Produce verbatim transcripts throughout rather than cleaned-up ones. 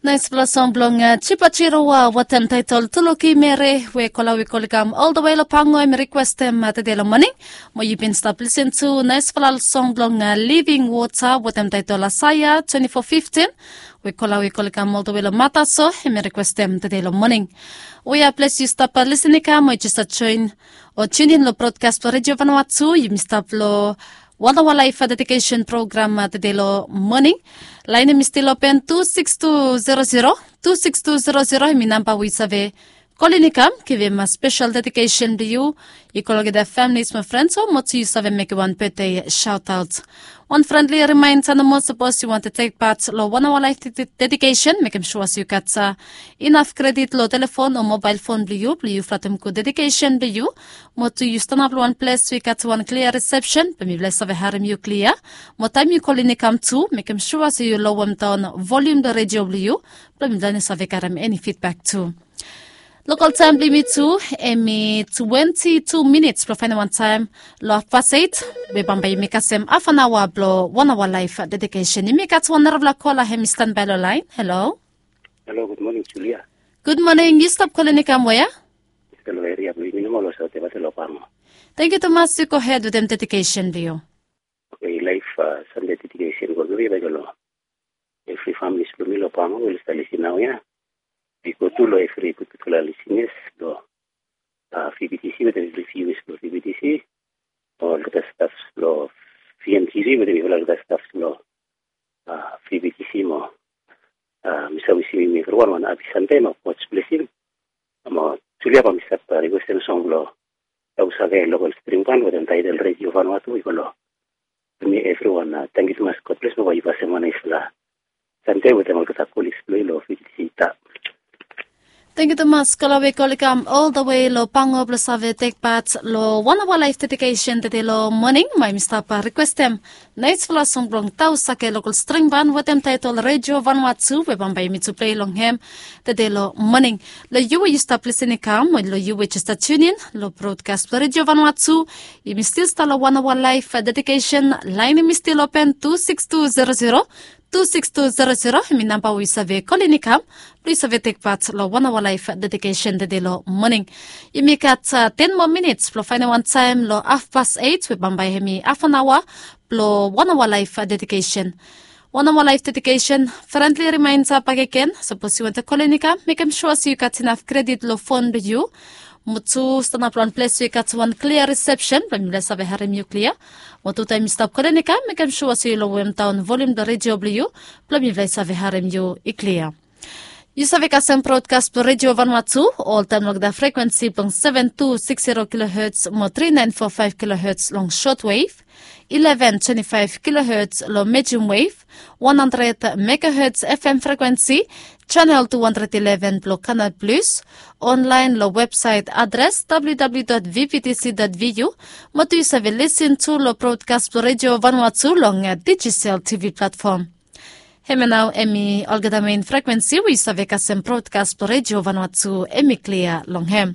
Naispela song blong Chipa Chirowa wetem taitol Tuluki Mere we kola we kol i kam ol the way lo Pango em i rikwestem tede lo moning. Mo yu bin stap lisin tu naispela song blong Living Water wetem taitol Asaia twenty-four fifteen we kola we kol i kam ol the way lo Mataso em i rikwestem tede lo moning. We a ples yu stap lisin i kam mo yu jes stap join o tunin lo broadcast blong Radio Vanuatu, yumi stap lo One Hour Life Dedication Program tede lo moning. Lain em i stil open tu six tu zero zero, tu six tu zero zero em i namba we yu save kolin i kam givim spesel dedikesen blong yu. I kol olgeta families mo frens o mo tu yu save mekem wan betde shaotaot. Wan frendli rimainda nomo, sapos yu wantem tek pat lo One Hour Life Dedi- Dedication, mekem sua se yu gat inaf kredit lo telefon o mobael fon blong yu blong yu flatem gud dedikesen blong yu. Mo tu yu stanap lo wan ples we i gat wan klia risepsen blong mifala i save harem yu klia. Mo taem yu kolin i kam tu, mekem sua se yu lowem daon volium blong redio blong yu blong mifala i no save garem eni fidbak tu. Lokal taem blong yumi tu em i twenti tu minits blong faenem wan taem lo hafpas eit, we bambae yumi kasem hafanaoa blong One Hour Life Dedication. Yumi gat wan narafala kola hem i stanbae lo laen. Halo. Halo, gud moning Julia. Gud moning. Yu stap kolin i kam wea? Stap lo eria blong yumi nomo lo Saute Vate lo Pango. Tangkiu tumas. Yu gohed wetem dedikesen blong yu. Oke, laef Sande dedikesen blong mi bae i go lo evri familis blong mi lo Pango we oli stap lisin naoia. I go tu lo evri gudgudfala lisinas lo VBTC wetem evri viewers blo VBTC, olgeta stafs blo VMTV wetem mifala olgeta stafs blo VBTC mo mi save wisim yumi evriwan wan hapi Sande mo God's blessing. Mo Julia, bae mi stap rikwestem song blo Tausake Lokal String Ban wetem taetel Radio Vanuatu i go lo yumi evriwan. Tangkiu tumas. God bless mo bae yu kasem wan naesfala Sande wetem olgeta kolis blong yu lo VBTC. Tangkiu tumas. Kola we kol i kam ol the way lo Pango blo save tek pat lo One Hour Life Dedication tede lo moning. Bae mi stap rikwestem naesfala song blong Tausake Lokal String Ban wetem taetel Radio Vanuatu we bambae yumi tu plei long hem tede lo moning. Lo yu we yu stap lisin i kam, o lo yu we jes stap tunin lo broadcast blo Radio Vanuatu, yumi stil stap lo One Hour Life Dedication. Laen em i stil open tu six tu zero zero, tu six tu zero zero em i namba we yu save kolin i kam blo yu save tek pat lo One Hour Life Dedication tede lo moning. Yumi gat ten moa minits blo faenem wan taem lo hafpas eit we bambae em i hafanaoa blo One Hour Life Dedication. One Hour Life Dedication, frendli rimainda bakegen, sapos yu wantem kolin i kam, mekem sua se yu gat inaf kredit lo fon blo yu. Mo tu stanap lo wan ples we i gat wan klia risepsen blo mifala i save harem yu klia. Mo tu taem yu stap kolin i kam, mekem sua se yu lowem daon volium blo redio blo yu blo mifala i save harem yu i klia. Yu save kasem broadcast blo Radio Vanuatu oltaem lo olgeta frekwensi blong seven two six zero kilohertz mo three nine four five kilohertz long shortwave, eleven twenty-five kilohertz lo medium wave, one hundred megahertz FM frekwensi, channel two hundred eleven blo Canal Plus, online lo websaet adres www.vvtc.vu, mo tu yu save lisin tu lo broadcast blo Radio Vanuatu long Digicel TV platform. Hemia nao em i olgeta mein frekwensi we yu save kasem broadcast blo Radio Vanuatu em i klia long hem.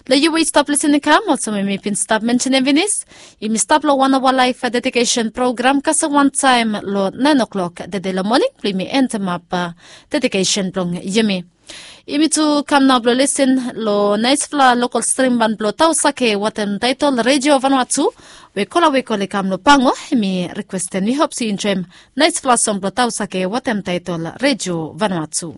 Lo yu we yu stap lisin i kam, olsem we mi bin stap mensenem finis, yumi stap lo One Hour Life Dedication Program kasem wan taem lo naen o'clock tede lo moning blo yumi endemap dedikesen blong yumi. Yumi tu kam nao blo lisin lo naesfala lokal string ban blo Tausake wetem taetel Radio Vanuatu, we kola we kol i kam lo Pango em i rikwestem. Mi hop se yu enjoem naesfala song blo Tausake wetem taetel Radio Vanuatu.